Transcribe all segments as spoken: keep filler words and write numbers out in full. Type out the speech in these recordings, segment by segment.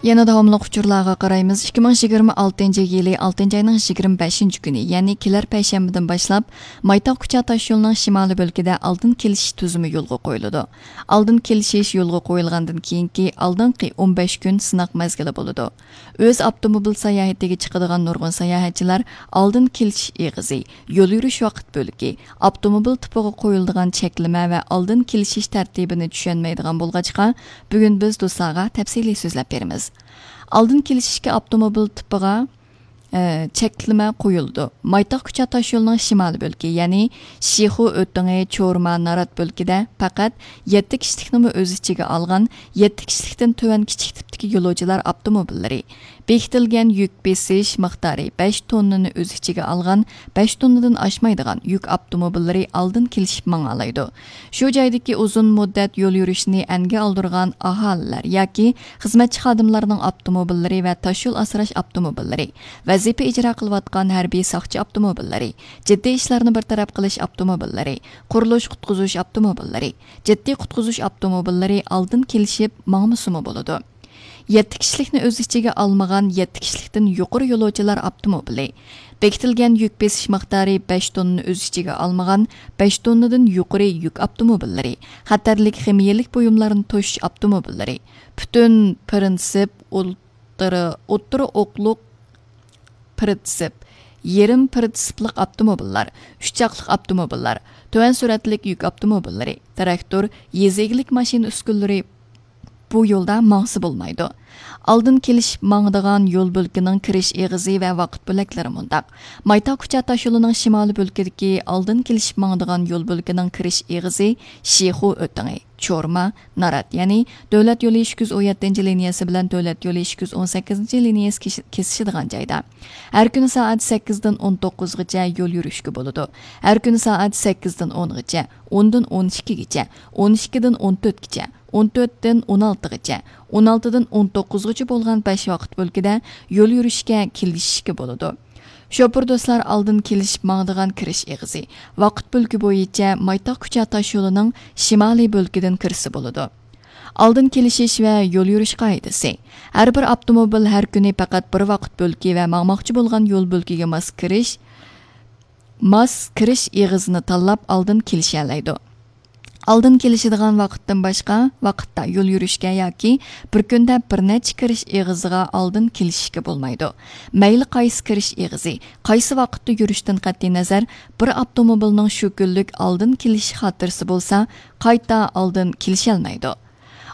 يەنە داۋاملىق ئۇچۇرلارغا قارايمىز. ئىككى مىڭ يىگىرمە ئالتىنچى يىلى ئالتىنچى ئاينىڭ يىگىرمە بەشىنچى كۈنى، يەنى كېلەر پەيشەنبىدىن باشلاپ، مايتاغ كۇچا تاشيولىنىڭ شىمالىي بۆلىكىدە ئالدىن كېلىشىش تۈزۈمى يولغا قويۇلىدۇ. ئالدىن كېلىشىش يولغا قويۇلغاندىن كېيىنكى ئالدىنقى ئون بەش كۈن سىناق مەزگىلى بولىدۇ. ئۆز ئاپتوموبىل ساياھىتىگە چىقىدىغان نۇرغۇن ساياھەتچىلەر ئالدىن كېلىشىش ئېغىزى، يول يۈرۈش ۋاقىت بۆلىكى، ئاپتوموبىل تىپىغا قويۇلىدىغان چەكلىمە ۋە ئالدىن كېلىشىش تەرتىپىنى چۈشەنمەيدىغان بولغاچقا، بۈگۈن بىز دوستلارغا تەپسىلىي سۆزلەپ بېرىمىز. ئالدىن كېلىشىشكە ئاپتوموبىل تىپىغا، ئە، چەكلىمە قويۇلىدۇ. مايتاغ كۇچا تاشيولىنىڭ شىمالىي بۆلىكى، يەنى شىخۇ ئۆتىڭى، چورما، نارات بۆلىكىدە پەقەت يەتتە كىشىلىكنىمۇ ئۆز ئىچىگە ئالغان يەتتە كىشىلىكتىن تۆۋەن كىچىك تىپتىكى يولۇچىلار ئاپتوموبىللىرى، بېكىتىلگەن يۈك بېسىش مىقدارى بەش توننىنى ئۆز ئىچىگە ئالغان بەش توننىدىن ئاشمايدىغان يۈك ئاپتوموبىللىرى ئالدىن كېلىشىپ ماڭالايدۇ. شۇ جايدىكى ئۇزۇن مۇددەت يول يۈرۈشىنى ئەنگە ئالدۇرغان ئاھالىلەر ياكى خىزمەتچى خادىملارنىڭ ئاپتوموبىللىرى ۋە تاشيول ئاسراش ئاپتوموبىللىرى، ۋەزىپە ئىجرا قىلىۋاتقان ھەربىي ساقچى ئاپتوموبىللىرى، جىددىي ئىشلارنى بىر تەرەپ قىلىش ئاپتوموبىللىرى، قۇرۇلۇش قۇتقۇزۇش ئاپتوموبىللىرى، جىددىي قۇتقۇزۇش ئاپتوموبىللىرى ئالدىن كېلىشىپ ماڭمىسىمۇ بولىدۇ. يەتتە كىشىلىكنى ئۆز ئىچىگە ئالمىغان يەتتە كىشىلىكتىن يۇقىرى يولۇچىلار ئاپتوموبىلى، بېكىتىلگەن يۈك بېسىش مىقدارى بەش توننىنى ئۆز ئىچىگە ئالمىغان بەش توننىدىن يۇقىرى يۈك ئاپتوموبىللىرى، خەتەرلىك خىمىيەلىك بۇيۇملارنى توشۇش ئاپتوموبىللىرى، پۈتۈن پىرىنسىپ، ئوتتۇرا، ئوتتۇرا ئوقلۇق پىرىنسىپ، يېرىم پىرىنسىپلىق ئاپتوموبىللار، ئۈچ چاقلىق ئاپتوموبىللار، تۆۋەن سۈرئەتلىك يۈك ئاپتوموبىللىرى، تىراكتور، يېزا ئىگىلىك ماشىنا ئۈسكۈنىلىرى بۇ يولدا ماڭسا بولمايدۇ. ئالدىن كېلىشىپ ماڭىدىغان يول بۆلىكىنىڭ كىرىش ئېغىزى ۋە ۋاقىت بۆلەكلىرى مۇنداق. مايتاغ كۇچا تاشيولىنىڭ شىمالىي بۆلىكىدىكى ئالدىن كېلىشىپ ماڭىدىغان يول بۆلىكىنىڭ كىرىش ئېغىزى شىخۇ ئۆتىڭى، چورما، نارات، يەنى دۆلەت يولى ئىككى يۈز ئون يەتتىنچى لىنىيەسى بىلەن دۆلەت يولى ئىككى يۈز ئون سەككىزىنچى لىنىيەسى كېسىشىدىغان جايدا. ھەر كۈنى سائەت سەككىزدىن ئون توققۇزغىچە يول يۈرۈشكە بولىدۇ. ھەر كۈنى سائەت سەككىزدىن ئونغىچە، ئوندىن ئون ئىككىگىچە، ئون ئىككىدىن ئون تۆتكىچە، ئون تۆتتىن ئون ئالتىغىچە، ئون ئالتىدىن ئون توققۇزغىچە بولغان بەش ۋاقىت بۆلىكىدە يول يۈرۈشكە كېلىشىشكە بولىدۇ. شوپۇر دوستلار ئالدىن كېلىشىپ ماڭىدىغان كىرىش ئېغىزى، ۋاقىت بۆلىكى بويىچە مايتاغ كۇچا تاشيولىنىڭ شىمالىي بۆلىكىدىن كىرسە بولىدۇ. ئالدىن كېلىشىش ۋە يول يۈرۈش قائىدىسى. ھەر بىر ئاپتوموبىل ھەر كۈنى پەقەت بىر ۋاقىت بۆلىكى ۋە ماڭماقچى بولغان يول بۆلىكىگە ماس كىرىش، ماس كىرىش ئېغىزىنى تاللاپ ئالدىن كېلىشەلەيدۇ. ئالدىن كېلىشىدىغان ۋاقىتتىن باشقا ۋاقىتتا يول يۈرۈشكە ياكى بىر كۈندە بىر نەچچە كىرىش ئېغىزىغا ئالدىن كېلىشىشكە بولمايدۇ. مەيلى قايسى كىرىش ئېغىزى، قايسى ۋاقىتتا يۈرۈشتىن قەتئىينەزەر، بىر ئاپتوموبىلنىڭ شۇ كۈنلۈك ئالدىن كېلىش خاتىرىسى بولسا، قايتا ئالدىن كېلىشەلمەيدۇ.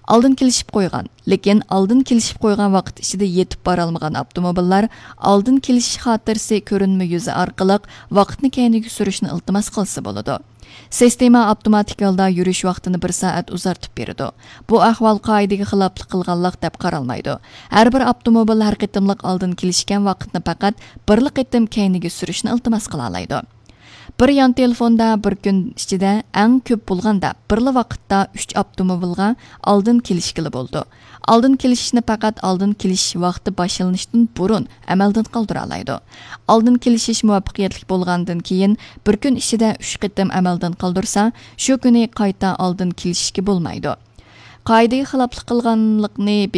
ئالدىن كېلىشىپ قويغان، لېكىن ئالدىن كېلىشىپ قويغان ۋاقىت ئىچىدە يېتىپ بارالمىغان ئاپتوموبىللار ئالدىن كېلىشىش خاتىرىسى كۆرۈنمە يۈزى ئارقىلىق ۋاقىتنى كەينىگە سۈرۈشنى ئىلتىماس قىلسا بولىدۇ. سىستېما ئاپتوماتىك ھالدا يۈرۈش ۋاقتىنى بىر سائەت ئۇزارتىپ بېرىدۇ. بۇ ئەھۋال قائىدىگە خىلاپلىق قىلغانلىق دەپ قارالمايدۇ. ھەر بىر ئاپتوموبىل ھەر قېتىملىق ئالدىن كېلىشكەن ۋاقىتنى پەقەت بىرلا قېتىم كەينىگە سۈرۈشنى ئىلتىماس قىلالايدۇ. بىر يان تېلېفوندا بىر كۈن ئىچىدە ئەڭ كۆپ بولغاندا بىرلا ۋاقىتتا ئۈچ ئاپتوموبىلغا ئالدىن كېلىشكىلى بولىدۇ. ئالدىن كېلىشىشنى پەقەت ئالدىن كېلىش ۋاقتى باشلىنىشتىن بۇرۇن ئەمەلدىن قالدۇرالايدۇ. ئالدىن كېلىشىش مۇۋەپپەقىيەتلىك بولغاندىن كېيىن بىر كۈن ئىچىدە ئۈچ قېتىم ئەمەلدىن قالدۇرسا، شۇ كۈنى قايتا ئالدىن كېلىشىشكە بولمايدۇ. قائىدىگە خىلاپلىق قىلغانلىقنى